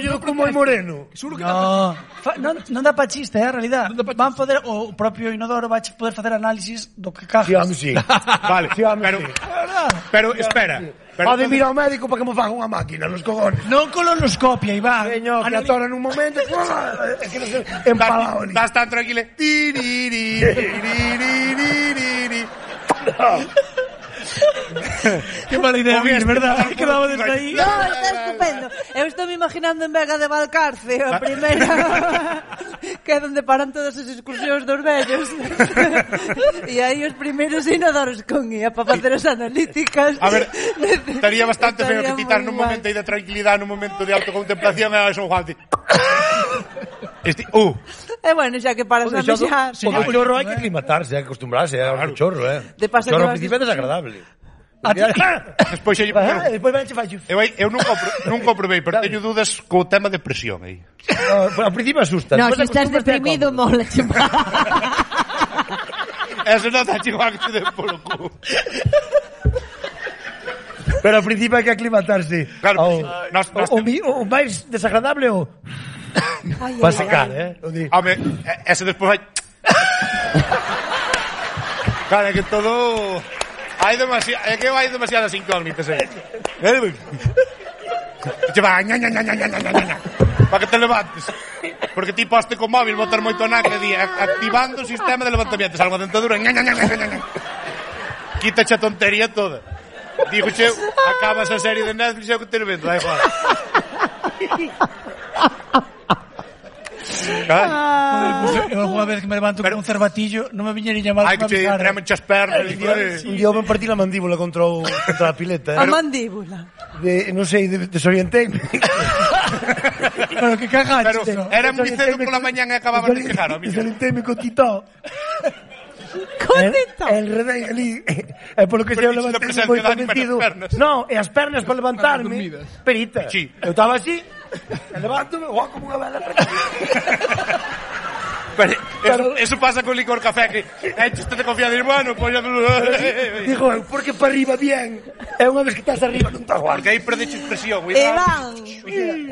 Yo como moi moreno. Non dá pa chiste, a realidad. Van poder, o propio Inodoro vai poder facer análisis do que cajas. Sí, home, sí. Vale, pero espera. Pode vir ao médico para que me faga unha máquina, los cogones. Non colonoscopia, Iván. Señor, que atora nun momento. É que non sei, empalado. Estás tan tranquilo. Que mala idea, verdad? Quedaba desde aí. No, está estupendo. Eu estou me imaginando en Vega de Valcarce, a primeira que é onde paran todas as excursións dos vellos. E aí os primeiros inodoros con guía para facer as analíticas. A ver, estaría bastante feo que quitar nun momento aí de tranquilidade, nun momento de autocontemplación a Son Juan. Bueno, xa que paras a mexar. O chorro hai que aclimatarse, hai que acostumbrarse ao chorro, De paso chorro que ao principio é desagradable. Despois ven che fallo. Eu nunca o probei, pero teño dúdas co tema de presión aí. Ao principio asusta. No, se estás deprimido, mola. Eso non está igual que te den polo cu. Pero ao principio hai que aclimatarse. Claro, o máis desagradable o para secar, Home, ese despois vai. Claro, é que todo hai demasiadas incógnitas aí. Che va, para que te levantes. Porque ti poste co móvil botar moito naque di activando o sistema de levantamiento, salgo a dentadura. Quítache a tontería toda. Digo, che, acabas a serie de Netflix e o que te vendo, da igual. Eu alguna vez que me levanto con un cervatillo non me viñería mal. Hai que che treme as pernas. Un día me partí la mandíbula contra a pileta. A mandíbula. Non sei, desorienteime. Pero que cagaste. Pero era moi cedo pola mañá e acababa de quejar. Desorienteime con Tito. Cotito. El redén ali. É polo que se eu levantei moi convencido. Non, e as pernas para levantarme. Perita. Eu estaba así. Levántome, como unha vela. Pero eso pasa con licor café, que echaste de confianza y bueno, pues ya... Digo, porque para arriba bien. É unha vez que estás arriba non estás guapo. Porque aí perdeche expresión. Iván,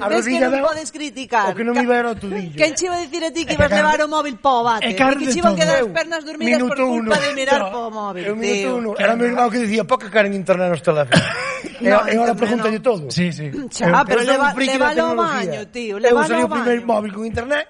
ves que non podes criticar. O que non me iba era o tudillo. Quen che iba a dicir a ti que ibas levar o móvil po bate? Que che iban quedar as pernas dormidas por culpa de mirar po móvil. Minuto 1. Era meu irmão que dicía, poca cara en internet nos teléfonos. E agora pregúntalle todo. Sí. Xa, pero levalo ao baño, tío. Eu salí o primeiro móvil con internet.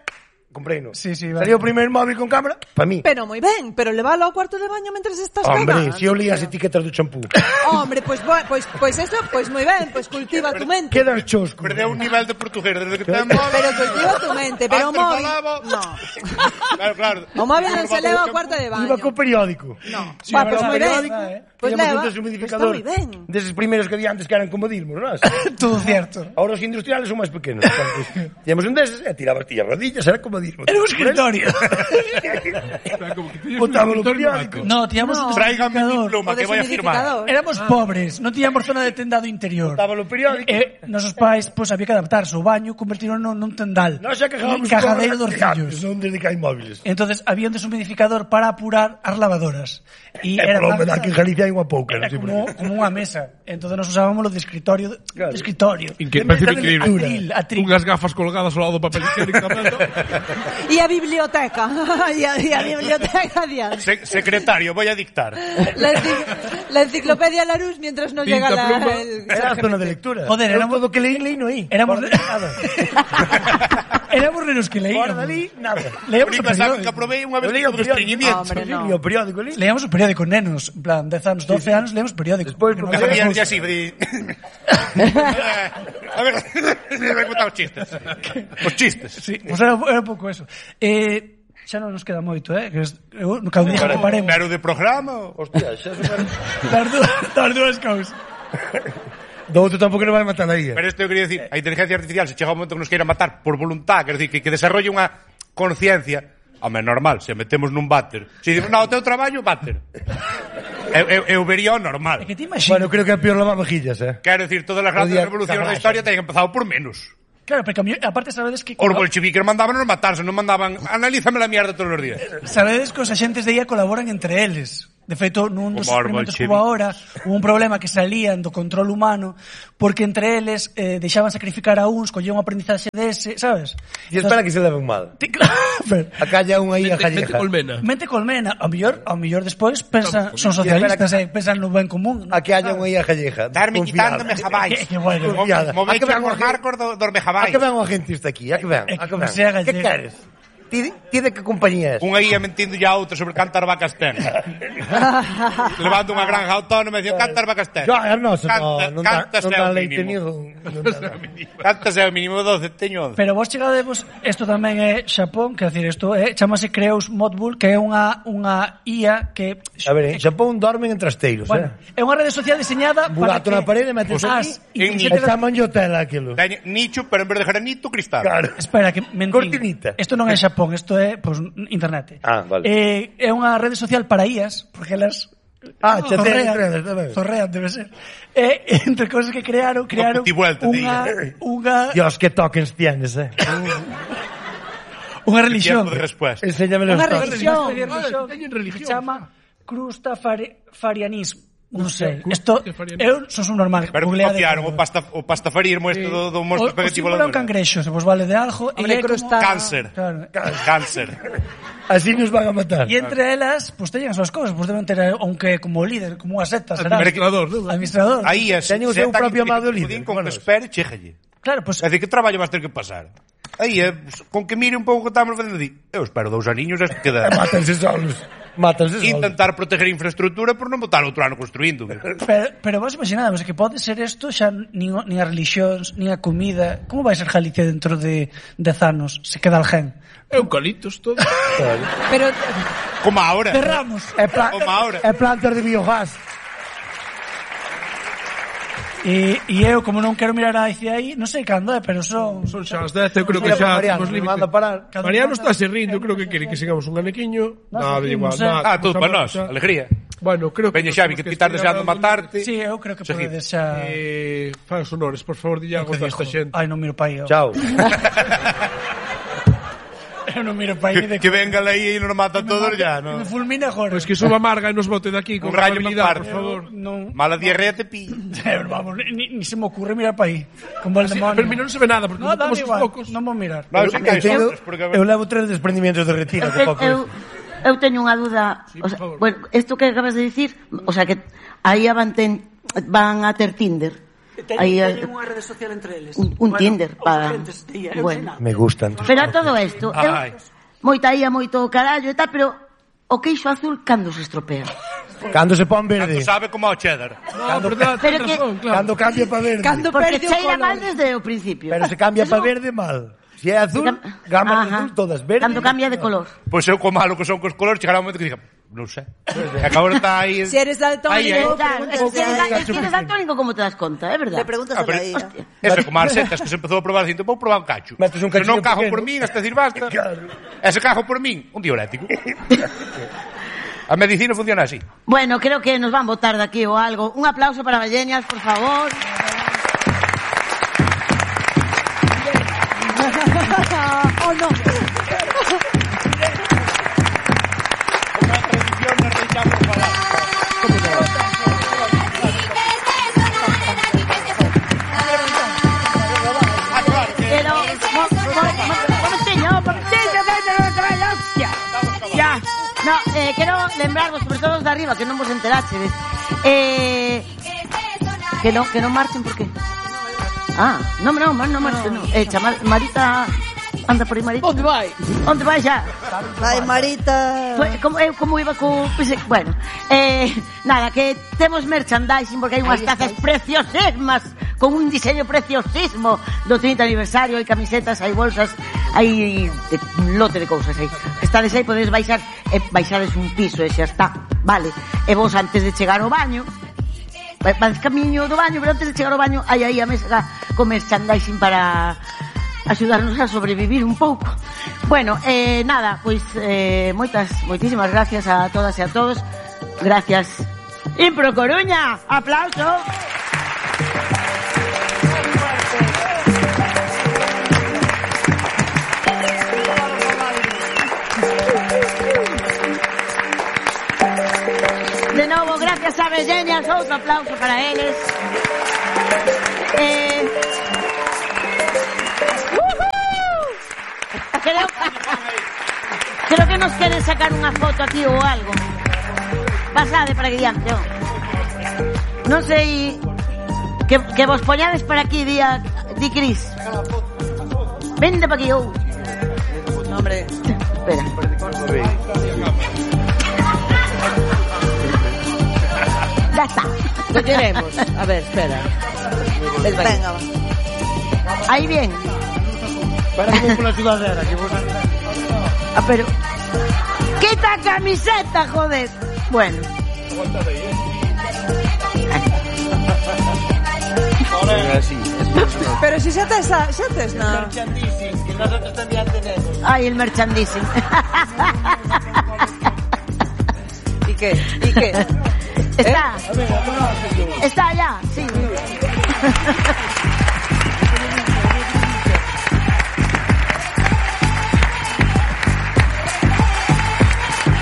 Compreino. Sí, Salió o primeiro móvil con cámara para mí. Pero moi ben, pero levalo ao cuarto de baño mentres estás cagando. Hombre, si eu li as etiquetas do champú. Hombre, pues eso, pues moi ben, pues cultiva tu mente. Quedas chosco. Perdeu un nivel de portugués desde que ten móvil. Pero cultiva tu mente, pero o móvil no. Claro. O móvil non se leva ao cuarto de baño. Iba co periódico. No. Pues moi ben. Pues leva. Está moi ben. Deses primeiros que había antes que eran comodismos, non? Todo cierto. Ahora os industriales son máis pequenos. Tíamos un deses e tirabas ti as rodillas, era comodismo. Era un escritorio. Botaba o periódico. No, tíamos un Tráigame mi pluma que voy a firmar. Éramos pobres, non tíamos zona de tendado interior. Botaba o periódico. Nosos pais, pois, había que adaptarse. O baño convertiron nun tendal. Non xa quejábamos cajadeiro dos fillos. Non desde que hai móviles. Entonces, había un deshumidificador para apurar as lavadoras. E era que en Galicia hai unha pouca. Era como unha mesa. Entonces nos usábamos lo de escritorio. Claro. Que parece increíble. Unhas gafas colgadas ao lado do papel higiénico tamén. E a biblioteca. E a biblioteca adiante. Secretario, voy a dictar. La enciclopedia Larousse mientras no llega la... Era a zona de lectura. Joder, éramos todo que leí no aí. Éramos nenos que leíamos. Guarda ali, nada. Leíamos o periódico. Que probei unha vez o estreñimiento. O periódico ali. Leíamos o periódico, nenos. En plan, 10 anos, 12 anos, leíamos periódico. Despois, ya así, a ver, me voy a contar os chistes. Os chistes. Sí, pues era un pouco eso. Xa non nos queda moito, que cada día que paremos. Pero de programa, hostia, xa super... Das dúas cousas. Do outro tampouco non vai matar a IA. Pero isto eu quería decir, a inteligencia artificial se chega un momento que nos queira matar por voluntad, quer decir, que desarrolle unha conciencia, home, normal, se metemos nun váter. Se dicimos, no, o teu traballo, váter. Eu vería o normal. Bueno, creo que é peor lavavajillas, Quero decir, todas as grandes revolucións da historia teñen empezado por menos. Claro, porque aparte sabedes que... Os bolcheviques mandaban matarse, non mandaban analízame la mierda todos os días. Sabedes que os axentes de IA colaboran entre eles. De feito, nun dos experimentos que hubo agora, hubo un problema que salían do control humano porque entre eles deixaban sacrificar a uns, collían un aprendizaxe dese, sabes? E espera que se leven mal. A calla unha aí a jalleja. Mente colmena. Ao mellor despois pensan, son socialistas, pensan no ben común. A que haya unha aí a jalleja. Darme quitándome jabais. Que bueno. Moveiche os marcos dos mejabais. A que ven o agentista aquí? A que ven? Que queres? Ti de que compañía es? Unha ia mentindo ya outra sobre cantar vacas ten. Levando unha granja autónoma e dicía cantar vacas ten. Non dá leite nido. Cántase ao mínimo 12, teño 11. Pero vos chegadevos, isto tamén é Xapón, quer decir, isto chamase Creus Modbull, que é unha IA que... A ver, en Xapón dormen en trasteiros, bueno, é unha rede social diseñada para que... na parede, metes aquí e chaman yo tela aquilo. Nicho, pero en vez de granito, cristal. Claro. Espera, que mentín. Cortinita. Isto non é Xapón. Isto é, pues, internet. Vale. É unha rede social para IAs, porque elas zorrean, debe ser. Entre cosas que crearon unha Dios, que tokens tienes, unha religión. Enséñame unha religión que se chama Crustafarianismo. Non sei, isto eu son un normal. Pero copiaron o pastafarismo isto do monstro pegativo. O símbolo é un cangrexo, se vos vale de algo. E cáncer. Cáncer. Así nos van a matar. E entre elas, pues teñen as súas cousas, pues deben ter aunque como líder, como unha secta, será. Administrador. Aí é. Teñen o seu propio amado líder. Con que espere, chéjalle. Claro, pues... É dicir, que traballo vas ter que pasar? Aí é, con que mire un pouco que estamos facendo, eu espero 2 aniños e queda... Mátense solos. Intentar proteger a infraestructura por non botar outro ano construindo. Pero vos imaginadvos que pode ser isto xa nin a religións, nin a comida. Como vai ser Galicia dentro de 10 anos se queda alguén? Eucaliptos todo. Pero como ahora. Cerramos. É plantas de biogás. E eu, como non quero mirar hacia aí, non sei cando pero son xa as 10, eu creo que xa temos límite. Mariano está se rindo, creo que quere que sigamos un anequiño. Nada, igual. Todo para nós, alegría. Bueno, creo que... Veña Xavi, que pitar deseando matarte. Sí, eu creo que podedes xa... Fai os honores, por favor, dille algo desta xente. Ai, non miro pa aí. Chao. Eu non miro pa aí. Que venga aí e nos mata todos ya, non? Me fulmina agora. Pois que suba amarga e nos bote daqui con amabilidade, por favor. Mala diarrea te pilla. Vamos, ni se me ocurre mirar pa aí. Con Valdemón. Pero non se ve nada, porque estamos os focos. Non vou mirar. Eu levo 3 desprendimientos de retina. Eu teño unha dúda. Bueno, isto que acabas de dicir, o sea, que aí van a ter Tinder. Teñen unha rede social entre eles. Un Tinder para... Bueno, me gustan. Pero todo isto, moita ia, moito carallo e tal, pero o queixo azul cando se estropea? Cando se pon verde. Cando sabe como ao cheddar. Cando cambia para verde. Porque cheira mal desde o principio. Pero se cambia para verde mal. Se é azul, gamas azul todas verdes. Cando cambia de color. Pois eu como malo que son cos colores, chegará un momento que diga, non sei. E acabo de estar aí... Se eres daltónico... Se eres daltónico, como te das conta, é verdade? Le preguntas a la IA. Eso, como as setas que se empezou a probar, dicindo, vou probar un cacho. Metes un cacho. Se non cajo por min, hasta decir basta. E se cajo por min, un diurético. A medicina funciona así. Bueno, creo que nos van botar de aquí ou algo. Un aplauso para Vallenias, por favor. Oh, no. No, quero lembrarvos, sobre todo os de arriba, que non vos enteraxedes. Que non marchen, por qué? Non marchen, non. Chamar Marita... Anda por aí, Marita. Onde vai? Onde vai xa? Vai, Marita. Como iba co... Bueno, nada, que temos merchandising porque hai unhas tazas preciosísimas con un diseño preciosísimo do 30 aniversario, hai camisetas, hai bolsas, hai un lote de cousas aí. Estades aí, podedes baixar e baixades un piso e xa está, vale. E vos antes de chegar ao baño, vais camiño do baño, pero antes de chegar ao baño hai aí a mesa con merchandising para axudarnos a sobrevivir un pouco. Bueno, nada, pois moitísimas gracias a todas e a todos. Gracias. Impro Coruña, aplauso. Harvest Genials, outro aplauso para eles. Creo que nos queren sacar unha foto aquí ou algo. Pasade para aquí diante, non sei que vos poñades para aquí, di Cris. Vende para aquí, Hombre. Espera. Ya está. Lo queremos. A ver, espera. Venga. Ahí bien. Para que con la sudadera, que vos... pero... ¡Quita camiseta, joder! Bueno. Pero si xa tes na... Merchandising, que nosotros tamén tenemos. Ay, el merchandising. ¿Y qué? Está. Está allá, sí.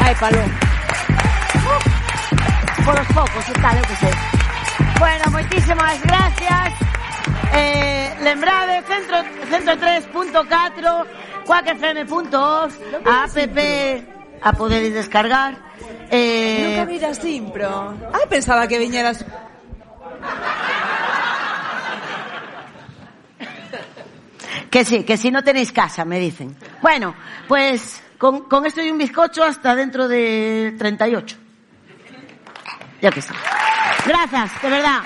Ai, palo. Por los focos e tal, eu que sei. Bueno, moitísimas gracias. Lembrade, 103.4, quackfm.os, a app a poder descargar. Nunca miras Impro. Ai, pensaba que viñeras... Que sí, que si no tenéis casa, me dicen. Bueno, pues con esto y un bizcocho hasta dentro de 38. Ya que sí. Gracias, de verdad.